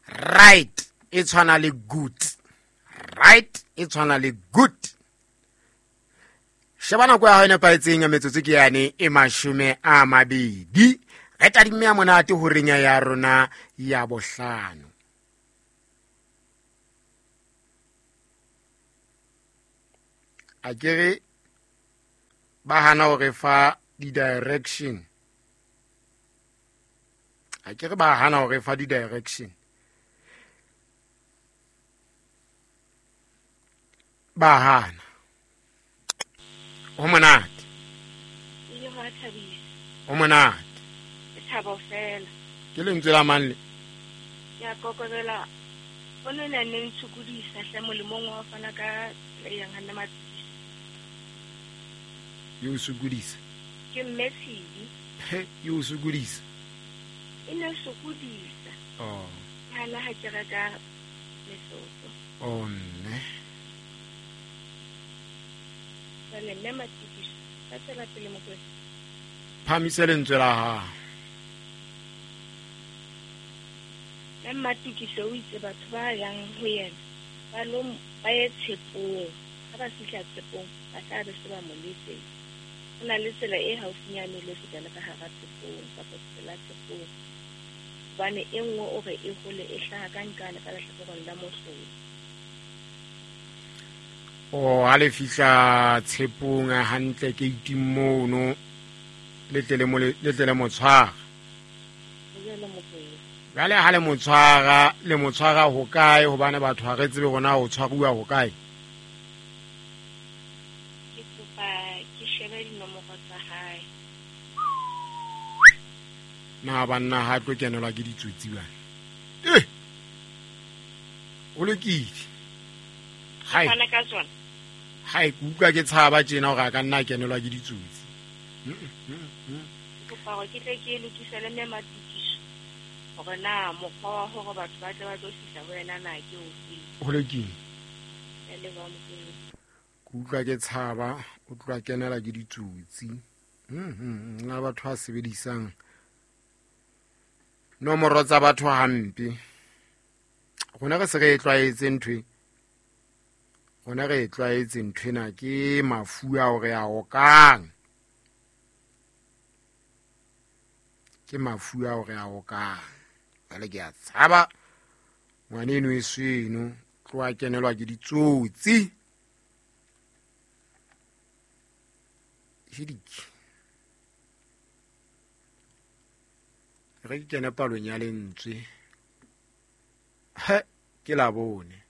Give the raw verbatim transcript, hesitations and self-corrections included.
Right e tshwana le good. Right e tshwana le good. Sheba nako ya hao e nepahetseng ya metsotso ke yane e mashome a mabedi. Re tadimme ya monate horeng ya rona ya bohlano. A kere ba hana hore fa di-direction. A kere ba hana hore fa di-direction. Ba hana. Ho monate. Ile hwa thabisa. Ho monate. Ke thabo fela. Ke lentswe la mang le? Ya kokobela. O ne ne neng tshukodisa hle molemong wa fana ka le yang hanna matsisi. Yo sokodisa. Ke mme Tshidi. He, yo sokodisa. E ne sokodisa. Oh. Hana ha ke reka lesotho. Oh mme. Jwale mme Matikiso, ka tswela pele Mokwena. Phamise lentswe la hao. Mme Matikiso o itse batho ba yang ho yena ba lo ba ye tshepong. Ha ba fihla tshepong ba tla be se ba mo letsetsa. Ho na le tsela e haufinyane le feta le ka hara tshepong kapa tsela tshepong. Hobane e nngwe o re e hole e hlaha ka nqane ka lehlakoreng la mohlolo. O ha le fihla tshepong hantle ke iting mono le tle le mo le tle le mo tshwara. Jwale ha le mo tshwara le mo tshwara ho kae hobane batho ha re tsebe rona ho tshwaruwa ho kae. Ke kopa ke shebe dinomoro tsa hae. Na banna ha tlo kenelwa ke ditsotsi bana. Eh. O lokile. Hai. Fana ka tsona. Hai, ke utlwa ke tshaba tjena hore a ka nna a kenelwa ke ditsotsi. Ke kopa hore ke tle ke lokise le mme Matikiso hore na mokgwa wa hore batho ba tle ba tlo fihla ho yena na ke ofe. Ho lokile. Ya leboha Mokwena. Ke utlwa ke tshaba o tloha kenela ke ditsotsi. Mhm, na batho ba sebedisang nomoro tsa batho hampe. Rona re se re e tlwaetse ntho e. Rona re e tlwaetse nthwena ke mafu ao re a okang. Ke mafu ao re a okang. Jwale ke a tshaba ngwaneno e seno tloha kenelwa ke ditsotsi. Hidiki. Re ke kene palong ya lentswe. He, ke la bone.